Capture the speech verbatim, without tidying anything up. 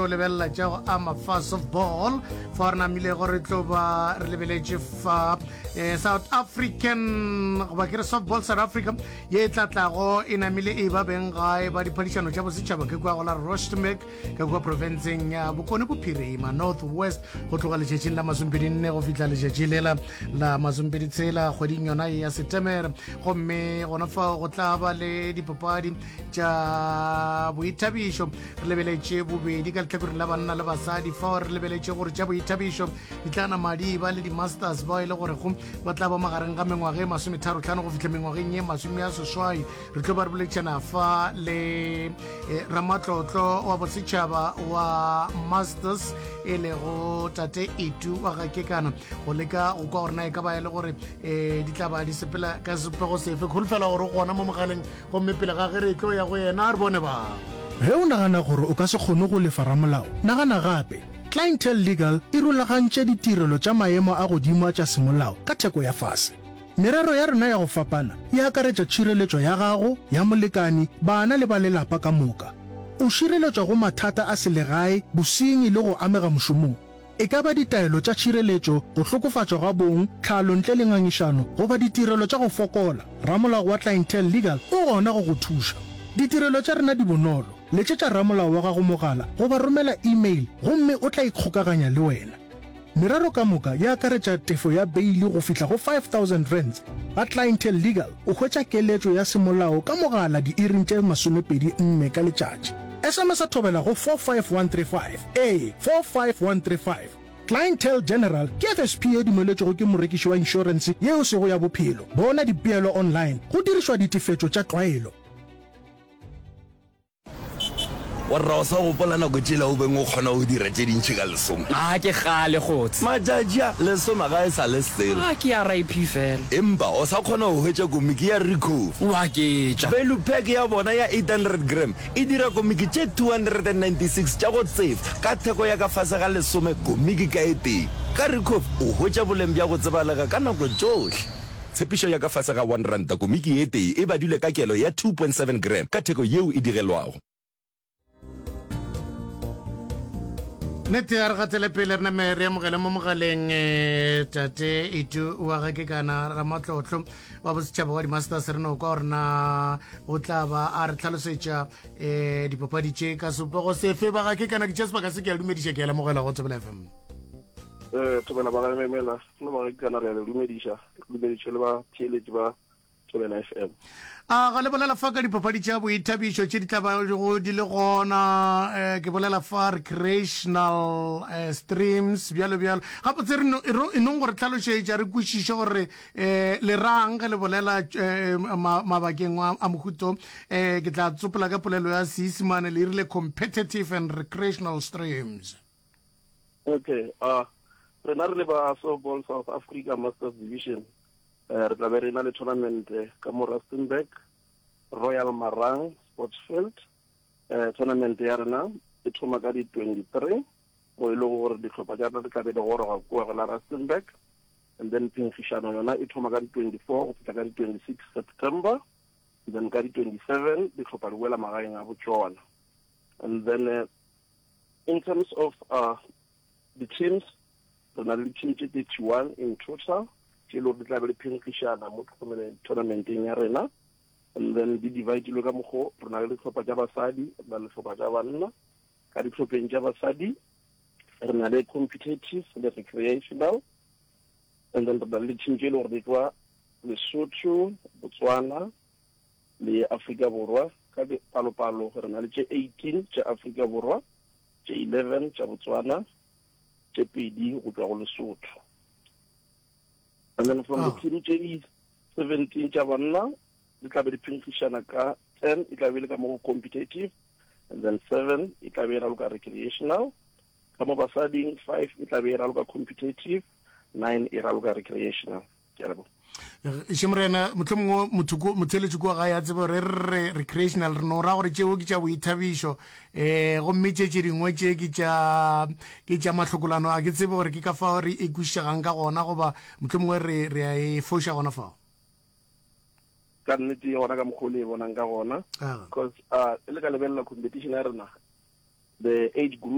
tlo lebelela tša go ama fa softball fa re namilego re tlo ba re lebeletše fa eh, South African goba ke re softball South Africa ye e tla tlago e namile e ba beng gae ba diphadišano tša bosetšhaba ke kua go la Rustenburg ka kua profenseng ya Bokone Bophirima North West go tloga letšatšing la masomepedi nne go fihla letšatši lela la masomepedi tshela kgweding yona ye ya Setemere gomme gona fao go tla ba le dipapadi tša boithabišo re lebeletše bobedi ka lehlakoreng la banna le basadi fao re lebeletše gore tša boithabišo di tla nama di ba le di-masters bao e le gorego ba tla ba magareng ga mengwaga e masometharo-tlhano go fihla mengwageng ye masome a seswai re tlo ba re boletšana fa le eh, ramatlotlo wa bosetšhaba wa masters e lego tate Itu wa ga Kekana go leka go kwa gore na e ka ba e le gore um di tla ba di sepela ka sepego sefe kholofela gore o gona mo mogaleng gomme pele ga ge re tlo ya go yena re bone ba Ge o nagana gore o ka se kgone go lefa ramolao, nagana gape. Clientele Legal e rulagantše ditirelo tša maemo a godimo a tša semolao ka theko ya fase. Merero ya rena ya go fapana e akaretša tšhireletšo ya gago, ya molekani, bana le ba lelapa ka moka. O šireletšwa go mathata a selegae, bosenyi le go amega mošomong. E ka ba ditaelo tša tšhireletšo, go hlokofatšwa ga bong, tlhalo ntle le ngangišano, goba ditirelo tša go fokola, ramolao wa Clientele Legal o gona go go thuša. Ditirelo tša rena di bonolo. Letšetša ramolao wa gago mogala goba romela email gomme o tla ikgokaganya le wena. Merero ka moka e akaretša tefo ya beili go fihla go five thousand rands. Ga Clientele Legal o hwetša keletšo ya semolao ka mogala diiring tše masomepedi nne ka letšatši. S M S thobela go four five one three five. Ee, four five one three five. Clientele General ke F S P ye dumeletšwego ke morekiši wa inšorense yeo sego ya bophelo. Bona dipeelo online go dirišwa ditefetšo tša tlwaelo. Warra, o sa gopola nako tšela o beng o kgona go dira tše dintši ka lesome? A ke kgale kgotse. Matšatši a lesome ga e sa le selo. A ke R I P fela. Empa o sa kgona go hwetša komiki ya Ricoffy. Wa ketša. Value pack ya bona ya eight hundred gram e dira komiki tše two hundred and ninety-six tša go tsefa ka theko ya ka fase ga lesome komiki ka e tee. Ka Ricoffy o hwetša boleng bja go tsebalega ka nako tšohle. Tshepišo ya ka fase ga one ranta komiki e tee e badilwe ka kelo ya two point seven gram ka theko yeo e digelwago. Nnete ya re gatele pele re name re amogele mo mogaleng eh, tate Itu wa ga ke kana ramatlotlo wa bosetšhaba wa di-masters re no kwa gore na o tla ba a re tlhalosetša um dipapadi tše ka sepego sefe. Ba ga ke kana ke tša sebaka se ke a dumediša, ke a lemogela go Thobela F M. eh thobela ba ga memela le ba ga kana, re a le dumediša, re dumediše le ba theeletši ba Thobela F M. A ga le bolela fa ka dipapadi tša boithabišo tše di tla bago di le gona, um ke bolela fa recreational uh, streams bjalo bjalo, gabotse re no- e ro- e nong gore tlhalošetša re kwešiše gore um le rang ge le bolela um mabakeng a a mohuto um ke tla tsopola ka polelo ya Seisemane, le rile competitive and recreational streams. Okay, uh rena re le ba Softball South Africa Masters Division, eh re tla be re na le tournament eh, ka mo Rustenburg, Royal Marang Sports Field. eh tournament ya rena e thoma ka di twenty-three, mo e lego gore dihlopha tša rena di tla be di goroga kua go la Rustenburg, and then phenkgišano yona e thoma ka di twenty-four go fihla ka di twenty-six September, and then ka di twenty-seven dihlopha di boela magaeng a botšona. And then uh, in terms of uh, the teams, re na le di-team tše thirty-one in total tše e le gore di tla be di phenkgišana mo tournamenteng ya rena, and then di dividilwe ka mokgo: re na le dihlopha tša basadi, re na le dihlopha tša banna. Ka dihlopheng tša basadi re na le competitive le recreational, and then re na le di-team tše e le gore di tšwa Lesotho, Botswana le Afrika Borwa. Ka palopalo re na le tše eighteen tša Afrika Borwa, tše eleven tša Botswana, tše pedi go tšwa go Lesotho. And then from the team tše di seventeen tša banna di tla be di phenkgišana ka ten e tla be le ka mo go competitive, and then seven e tla be e raloka recreational. Ka mo basading, five e tla be e raloka competitive, nine e raloka recreational. Ke a leboga. Še morena, motlho mongwe motho motheletši kua gae a tsebe gore re re recreational re no ra gore tšeo ke tša boithabišo, um gomme tše tše dingwe tše ke tša ke tša mahlokolano. A ke tsebe gore ke ka fao re e kwešišegang ka gona goba motlho mongwe re re a e foša gona fao. Ka nnete gona ka mokgwa o le e bonang ka gona, because uh e le ka lebelela competition ya rena, the age group